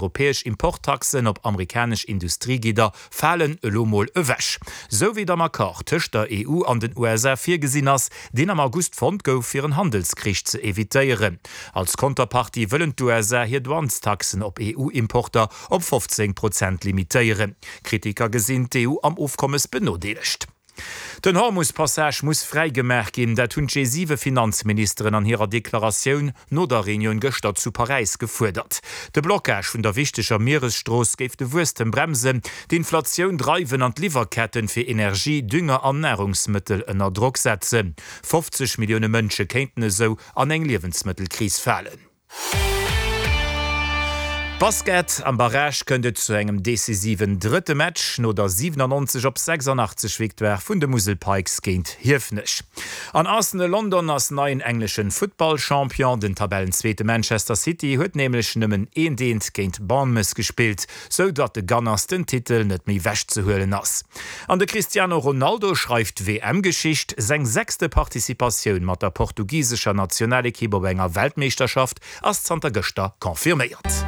Europäesch Importtaxen op amerikanesch Industriegidder falen elo mol ewech. Sou wéi et am Accord tëscht der EU an den USA virgesinn ass, deen am August fonnt gouf, fir en Handelskrich ze evitéieren. Als Konterpartie wëllen d'USA hir Douanestaxen op EU-Importer op 15 Prozent limitéieren. Kritiker gesinn d'EU am Ofkommes benodeelegt. Den Hormus-Passage muss fräi gemaach ginn, dat hunn d'G7-Finanzministeren an hirer Deklaratioun no der Reunioun gëschter zu Paräis gefuerdert. De Blockage vun der wichteger Mieresstrooss géif de Wuesstem bremsen, d'Inflatioun dreiwen an d'Liwwerketten fir Energie, Dünger an Narungsmëttel ënner Drock setzen. 50 Millioune Mënsche kéinten esou an eng Liewensmëttelkris falen. Basket, Am Barrage kënnt et zu engem decisiven drëtte Match no der 97 op 86 Victoire vun de Musel Pikes géint Hiefenech. An Arsenal London ass neien engleschen Futtballchampion. Den Tabellenzweete Manchester City huet nämlech nëmmen eent eent géint Bournemouth gespillt, sou datt de Gunners den Titel net méi wechzehuelen ass. An de Cristiano Ronaldo schreift WM-Geschicht, Seng sechste Participatioun mat der portugisescher Nationalekipp op enger Weltmeeschterschaft ass zanter gëschter confirméiert.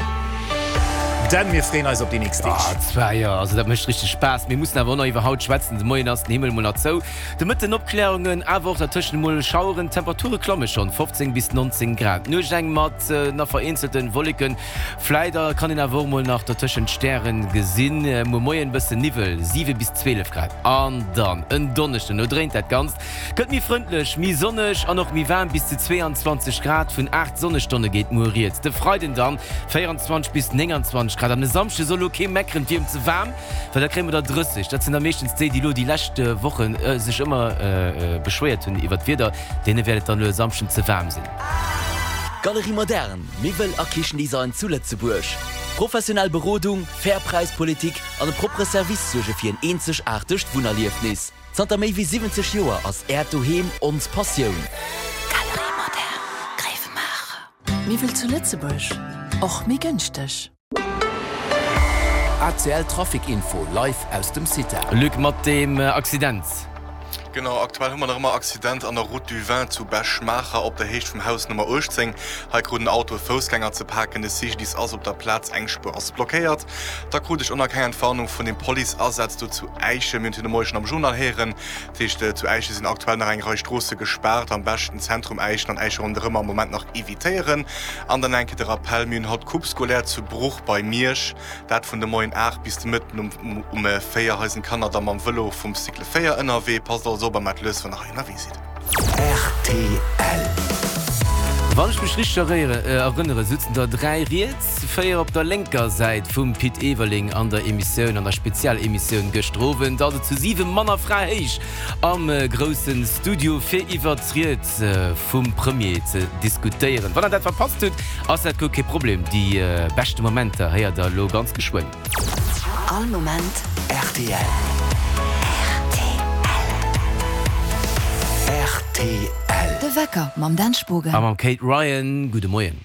Dan, mir freeën eis op déi nächst Deeg. Ah, zwar jo, also dat mécht richteg Spaass. Mir mussen awer och nach iwwer haut schwätzen. De Moien ass den Himmel mol nach zou, de Mëtten Opklärungen, awer och dertëschent emol Schaueren. D'Temperature klamme schonn, 15 bis 19 Grad. D'Nuecht eng mat nach vereenzelten Wolleken. Vläit kann een awer och mol nach dertëschent d'Stären gesinn. Muer Moien bëssen Niwwel, 7 bis 12 Grad. An dann en Donneschden, do dréint dat Ganzt, gëtt méi frëndlech, méi sonneg an och méi waarm, bis zu 22 Grad. Vun 8 Sonnestonne geet muer rieds. De Freiden dann 24 bis 29 Grad. An e Samschde soll lo kee meckeren, et wier em ze waarm, well da kréie mer der 30. Dat sinn da meeschtens déi, déi lo déi lescht Woche sech ëmmer beschwéiert hunn iwwer d'Wieder, deene wäert et dann lo e Samschden ze waarm sinn. Galerie Moderne, Miwwel a Kichendesign zu Lëtzebuerg. Professionell Berodung, fair Präispolitik an e proppere Service suerge fir en eenzegaartegt Wunnerliefnis. Zanter méi wéi 70 Joer ass Äert Doheem ons Passioun. Galerie Moderne, Gréiwemaacher. Miwwel zu Lëtzebuerg, och méi gënschteg. ACL Trafic Info live aus dem CITA. Luc, mat deem Accident. Genau, aktuell hu mer nach ëmmer Accident an der Route du Vin zu Bech-Maacher op der Héicht vum Haus Nummer 18. Hei krut en Auto e Foussgänger ze paken. De CGDIS ass op der Plaz, eng Spuer ass blockéiert. Da krut ech och nach keng Entwarnung vun dem Police-Asaz do zu Äischen. Mir hunn et jo de Moie schonn am Journal héieren. Dat heescht, zu Äischen sinn aktuell nach eng Rei Stroosse gespaart. Am beschten Zentrum Äischen an Äische ronderëm am Moment nach evitéieren. An dann eng Kéier de Rappel, Mir hunn haut Coupe scolaire zu Bruch bei Miersch. Dat vun de Moien 8 bis de Mëtten um um 4. Hei sinn d'Kanner da mam Vëlo vum Cycle 4 ënnerwee. Passt also op a maacht lues, wann der hei ënnerwee sidd. Rtl. Wann ech mech richteg erënnere sutzen der 3 riets, 4 op der lénker Säit vum Pit Everling an der Emissioun, an der Spezialemissioun gëschter Owend, also zu 7 Mann a Fra héich am grousse Studio fir iwwert d'Ried vum Premier ze diskutéieren. Wann der dat verpasst hutt, ass dat guer kee Problem, déi beschte Momenter héiert der elo ganz geschwënn. All Moment rtl. Rtl. De Wecker mam Dan Spogen. A mam Kate Ryan. Gudde Moien.